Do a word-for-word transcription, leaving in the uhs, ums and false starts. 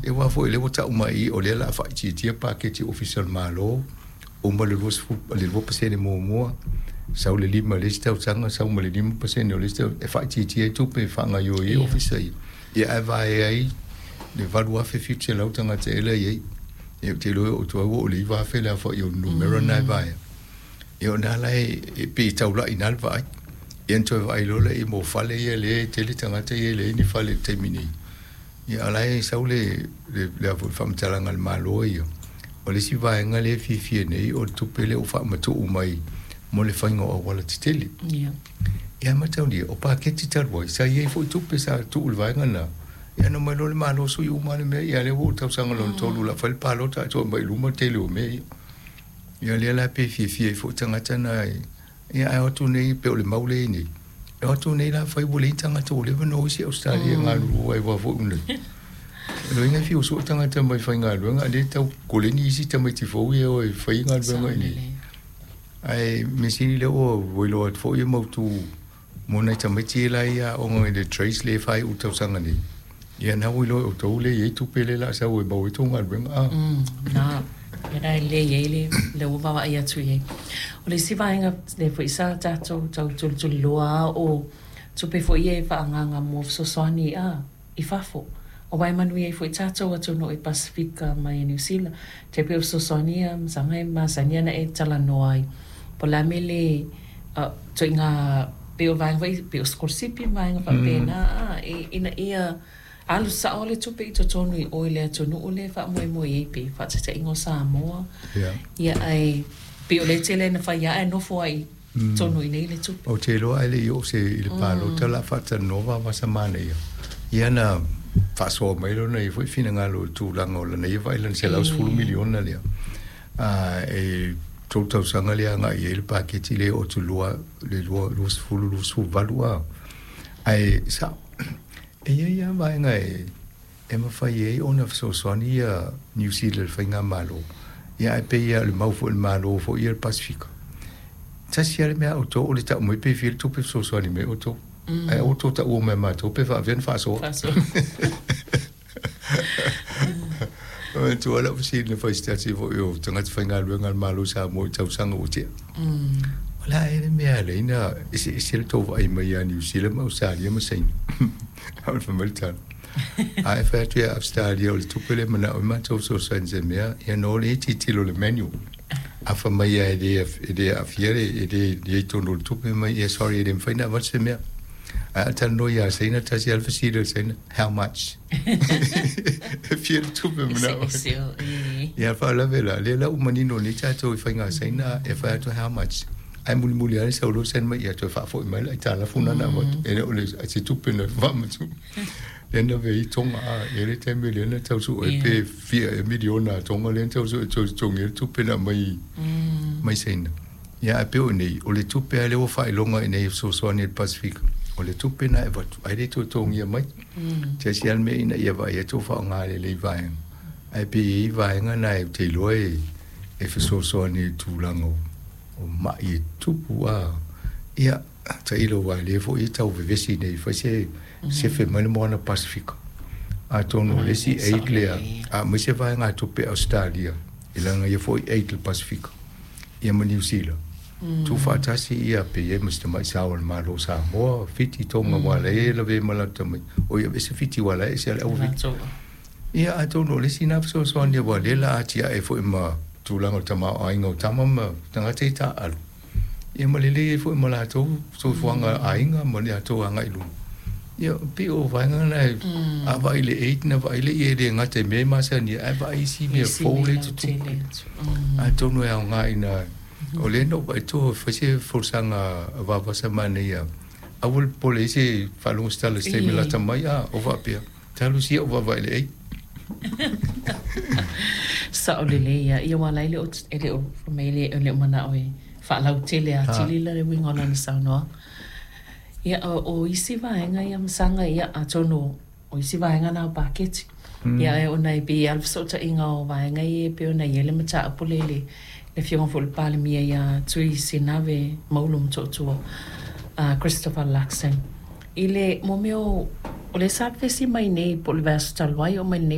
Ia aua foi lea ua ta'u mai i i o lea o le a faaitiitia paketi ofisa o le Malo, uma le luasefulu le lua pasene muamua, sau le lima i le isi tausaga, sau ma le lima pasene o le isi e faaitiitia ai tupe e faagaioi ai ofisa ia, ia ae vaea ai le valu afe fitu selau tagata ea la e i ai. Ia ou te iloa e oo atu ai ua oo i le iva afe le aofai o numera na e vaea. Ia o lena la e pei e taula'i i ina le vaai. Ia ona toe vaai loa lea mo fale ia lea e tele tagata ia e leai ni fale i le taimi nei. Ia a o la e sau le le le faamatalaga a le Malo ia. O le isi vaega lea e fiafia nei o le tupe lea ua faamatuu mai mo le faiga o auala tetele. Ia. Ia mataulia, o paketi talu ai, sa i ai foi tupe sa tuu i le vaega lena. Ia na omai loa le Malo sui uma le mea, ia lea ua oo i le tausaga lona tolu o le a fai le palota ae toe aumai i luma le tele o mea ia. Ia lea la pe fiafia ai foi tagata na ia ae o atu nei pe o le mau lea i nei. E o atu nei la fai ua leai ni tagata ua leva ona o isi Ausetalia e galulue ai aua foi nei. Loiga e fiu sue tagata mai faigaluega a lea e tau koleni isi tamaiti fou ia e o e fai galuega i inei. Ae mea sili lea ua iloa atu foi e mautu mo nai tamaiti la ia aoga i le trades lea e faaiu i le tausaga nei. Ia na ua iloa e outou lea e i ai tupe lea o le a sau e maua ai tou galuega. A. Na, ia la e lelei ai le lea ua vaavaai atu i ai. O le isi vaega lea foi sa tatou tau tulituliloa lava o tupe foi ia e faaagaaga mo fesoasoani a i fafo. Aua e manuia ai foi tatou atunuu i Pasefika mai Niu Sila. Tai pei o fesoasoani ia masaga e masani ona e talanoa ai. Po o le a mea le ituaiga pei o vaega foi pei o sikolasipi ma vaega faapena a ina ia alu sao le tupe i totonu i o i le atunuu lea e faamoemoe i ai pei faataitaiga o Samoa. Ia ae pei o lea e tele ina fai lava ae nofo ai i totonu i inei le tupe. Ou te iloa ae le i oo se i le palota o le a faatalanoa vavasa manaia. Ia na faasoa mai lona ia foi finagalo i le tulaga o lana ia vaai i lana selau sefulu miliona lea. E tolu tausaga lea agai i ai le paketi lea e oo atu i le lua luasefulu luasefulu valu a. Ae sao, e i ai lava vaega e e mafai ai ona fesoasoani ia Niu Sila i le faigamalo. Ia ae pei lava o le mau foi a le Malo foi ia o le Pasefika, tasi lava le mea a outou o le tau mai pe fia le tupe fesoasoani mai outou. Ae aua tou taua mai ia matou pe faavea ona faasoa. E manatua lau fesili na fai i se tasi foi o tagata faigaluega a le Malo o Samoa i tausaga ua tea. O le a ea le mea e ala ai ona eseese le tou vaai mai ia Niu Sila ma Ausetalia ma Saina? A o le fai mai le tala, a e fai atu ia Ausetalia o le tupe lea e manao ai matou fesoasoani i se mea, ia ona o lea e tilotilo i le manual. A fai mai lava e le e le aafia e le i ai i totonu o le tupe, mai ia sorry e le mafai ona avatu se mea. Ae a talanoa ia Saina, tasi lava le fesili a le Saina, how much? E fia le tupe manao ai. Ia faalavelave la, lea la ua manino nei tatou i faiga Saina e fai atu how much. Ae mulimuli lava le sau loa send mai ia toe faafoi mai le aitalafu na na avatu. E le o le se tupe na faamatuu. Lea na ave ai Tonga a e le taimi lea na tau sue pe fia ea miliona a Tonga lea na tau sue e toe totogi ai le tupe na aumai mai Saina. Ia ae pei o nei, o le tupe lava lea ua faailoga i inei e fesoasoani i le Pasefika, o le tupe na e avatu ae le toe totogia mai. Tasi lava le mea ina ia vaai atu o faaaoga lelei vaega. Ae pei e i ai vaega na ou te iloa e fesoasoani i le tulaga o mai e tupu a. Ia, tailo aua o lea foi e tau vevesi nei fai se sefe mai le moana Pasefika. Atonu o le isi aid lea, a aumai se vaegatupe a Ausetalia i lana ia foi aid i le Pasefika ia ma Niu Sila, tuufaatasi ia pe i ai ma se tamai sao a le Malo o Samoa, Fiti, Tonga aua o la e lavea ma latou tamai, oi aveese Fiti aua o la e ese lava le auafiti. Ia atonu o le isi lena fesoasoani aua o lea o le a atiae foi ma tulaga o le tamaoaiga o tama ma tagata ia taaalo, ia ma lelei ai foi ma latou soifuaga aiga ma le latou agai i luma. Ia pei o vaega na a vaai i le aid na vaai lea e le gata i mea e masani ai, ae vaai isi mea fou lea e tutupu. Atonu e aoga ina o lea na ou vaai atu e fai se folasaga a Vavasa manaia, aua le popole i ai se faalogo se tala i se taimi lata mai, a o faapea, talu sia ou vaavaai i le aid. Sao lelei ia, ia aua la e le o, e le o, fai mai e le o manao e faalautele atili la le uiga o lana saunoaga. Ia, o, o isi vaega ia masaga, ia, atonu o isi vaega na o paketi. Ia, ae ona e pei lava le fesootaiga o vaega ia e pei ona i ai le mataupu lea i le le Afioga foi i le Palemia ia Tui Sinave Maulu Motootua, Christopher Luxon, i le mo mea o, o lea sa vevesi mai nei po o le vaiaso talu ai oo mai lenei